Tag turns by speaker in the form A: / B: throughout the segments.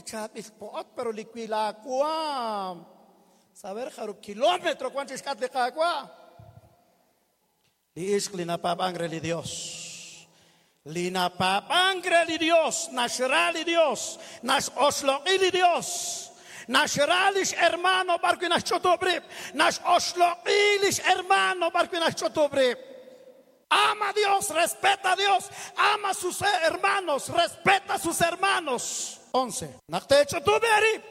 A: li chaab'il po'ot, pero li wi laawaam. Saber jarub' kilómetro wan chixk'atq li Qaawa'. Li ixq li napaab'ank re li Dios. Li napaab'ank re li Dios, naxra li Dios, nax'oxloq'i li Dios, naxra lix hermano b'ar wi' naxch'utub' rib', nax'oxloq'i lix hermano b'ar wi' naxch'utub' rib'. Ama a Dios, respeta a Dios, ama a sus hermanos, respeta a sus hermanos. 11. Naq teech'utub' eerib',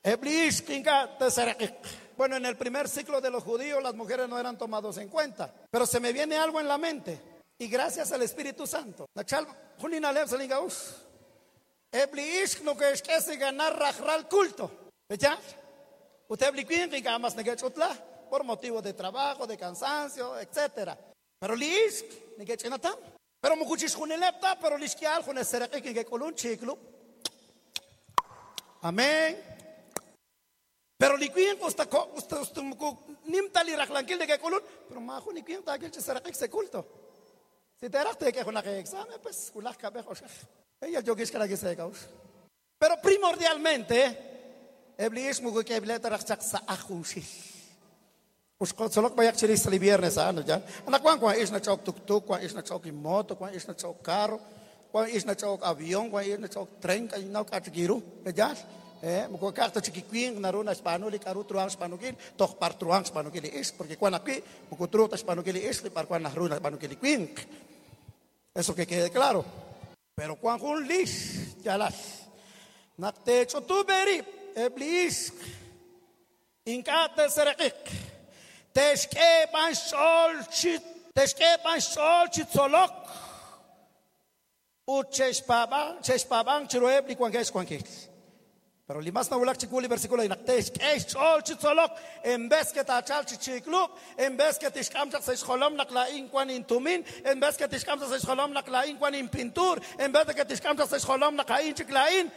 A: eb' li ixq ink'a' te'sereq'iq. Bueno, en el primer ciclo de los judíos las mujeres no eran tomados en cuenta, pero se me viene algo en la mente y gracias al Espíritu Santo. Nachal jun li na'leb' sa' lin k'a'uxl. Eb' li ixq noke'xk'e si ganar rajlal culto. ¿Peyaal? Ut eb' li winq ink'a' mas neke'ch'utla por motivo de trabajo, de cansancio, etcétera. Pero li ixq neke'ch'inatam. Pero moko chixjunileb' ta, pero lix k'ihal junes sereq'ik neke'k'ulun chiiklub'. Amén. Pero li winq usta ko- usta usta moko nim ta li rajlankil neke'k'ulun, pero maajun li winq taawil chi sereq'ik sa' culto. Si teeraj teek'e junaq examen, pues wulaj kab'ej oxej. Ella yookix k'alaki sa' eek'a'uxl. Pero primordialmente, eb' li ixq moko k'eeb'ileb' ta raj chaq sa' aj junxil. Uxqotzolok b'ayaq chirix sa' li viernes a'an, ya. Anaqwan wan ix nach'ok tuktuk, wan ix nach'ok moto, wan ix nach'ok carro, wan ix nach'ok avión, wan ix nach'ok tren, k'aynaw k'a chik iru, ya. Moko ka'aj ta chik li winq naru naxb'aanu li k'a'ru truhanq xb'aanunkil, toj b'ar truhanq xb'aanunkil li ixq, porque wan ajwi' moko truuq ta xb'aanunkil li ixq li b'ar wan naru naxb'aanunkil li winq. Eso que quede claro. Pero wan jun lix yaalal. Naq teech'utub' eerib' eb' li ixq ink'a' te'sereq'iq, te'xk'e b'an xch'ool chi te'xk'e b'an xch'ool chi tzolok ut che'xpaab'anq che'xpaab'anq chiruheb' li wankeb' xwankil. Pero li mas nawulak chiwu li versículo naq te'xk'e xch'ool chi tzolok en vez que taachalq chi chiiklub', en vez que tixk'am chaq sa' xjolom naq laa'in wan intumin, en vez que tixk'am chaq sa' xjolom naq laa'in wan inpintuur, en vez de que tixk'am chaq sa' xjolom naq a'in chik laa'in.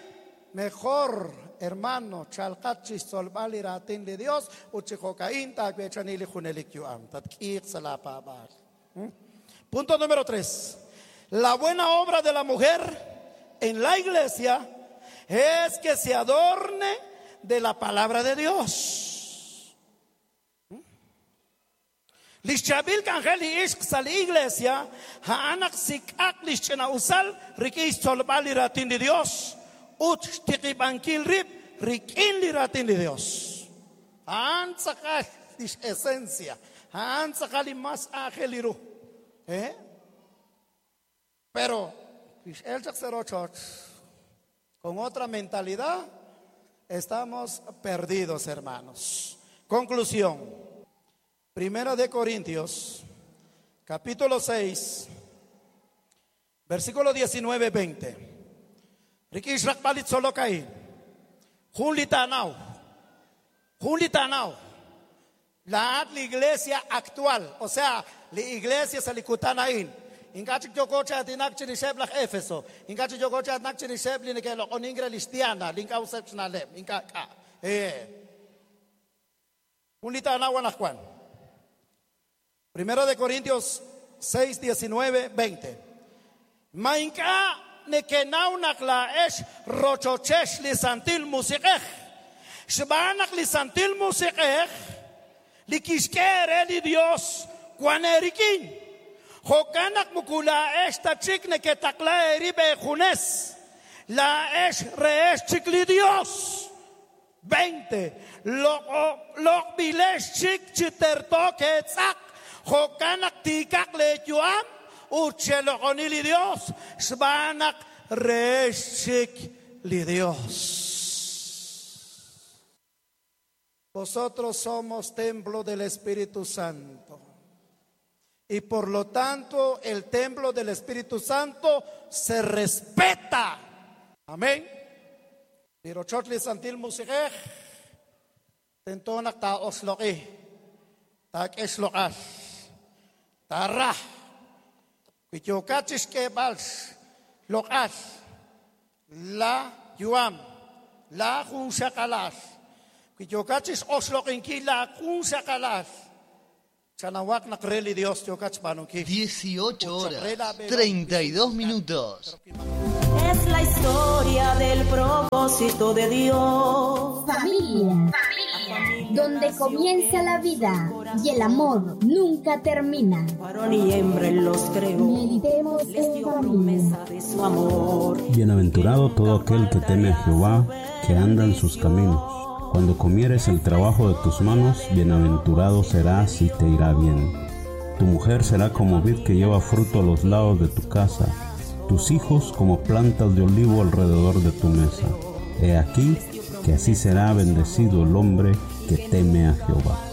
A: Mejor, hermano, chalqat chixtzolb'al li raatin li Dios ut chi jo'ka'in taaweechani li junelik yu'am. Tatk'iiq sa' laapaab'aal. Punto número 3. La buena obra de la mujer en la iglesia es que se adorne de la palabra de Dios. Lix chaab'il k'anjel li ixq sa' li iglesia a'an naq sik'aq lix ch'ina'usal rik'in xtzolb'al li raatin li Dios ut xtiqib'ankil rib' rik'in li raatin li Dios. A'an tz'aqal lix esencia, a'an tz'aqal li mas aajel li ru. ¿Eh? Pero x'el chaq sa' rochoch con otra mentalidad, estamos perdidos, hermanos. Conclusión. Primera de Corintios, capítulo 6, versículo 19, 20. Rik'in xraqb'al li tzolok a'in. Jun li taanaw. Jun li taanaw. Laa'at li iglesia actual, o sea, li iglesia sa' li kutan a'in. Ink'a' chik yooko chi aatinak chirixeb' laj Éfeso. Ink'a' chik yooko chi aatinak chirixeb' li neke'loq'onink re lix Diana, li ink'a' useb' xna'leb'. Ink'a' k'a'. Jun li taanaw anaqwan. Primera de Corintios 6, 19, 20. Ma ink'a' nekenaw naq laa'ex rochochex li Santil Musiq'ej? Xb'aan naq li Santil Musiq'ej li kixk'e eere li Dios wan eerik'in. Jo'kan naq moko laa'ex ta chik neketaqla eerib' eejunes, laa'ex rehex chik li Dios. 20. Loq'b'ilex chik chi terto keetz'aq, jo'kan naq tiikaq leeyu'am ut cheloq'oni li Dios, xb'aan naq rehex chik li Dios. Nosotros somos templo del Espíritu Santo. Y por lo tanto, el templo del Espíritu Santo se respeta. Amén. Li rochoch li Santil Musiq'ej tento naq taa'oxloq'i, taak'e xloq'al, taara. Wi yookat chixk'eeb'al xloq'al la yu'am, la junxaqalal, wi yookat chix'oxloq'inkil la junxaqalal, chanawaq naq re li Dios yookat xb'aanunkil.
B: 18 horas 32 minutos.
C: Es la historia del propósito.
B: propósito de Dios.
C: Familia, donde comienza la vida y el amor nunca termina.
B: Varón y hembra él los creó.
C: Meditemos
B: Les
C: en
B: dio
C: familia.
B: promesa de su amor.
D: Bienaventurado todo aquel que teme a Jehová, que anda en sus caminos. Cuando comieres el trabajo de tus manos, bienaventurado serás y te irá bien. Tu mujer será como vid que lleva fruto a los lados de tu casa, tus hijos como plantas de olivo alrededor de tu mesa. He aquí que así será bendecido el hombre que teme a Jehová.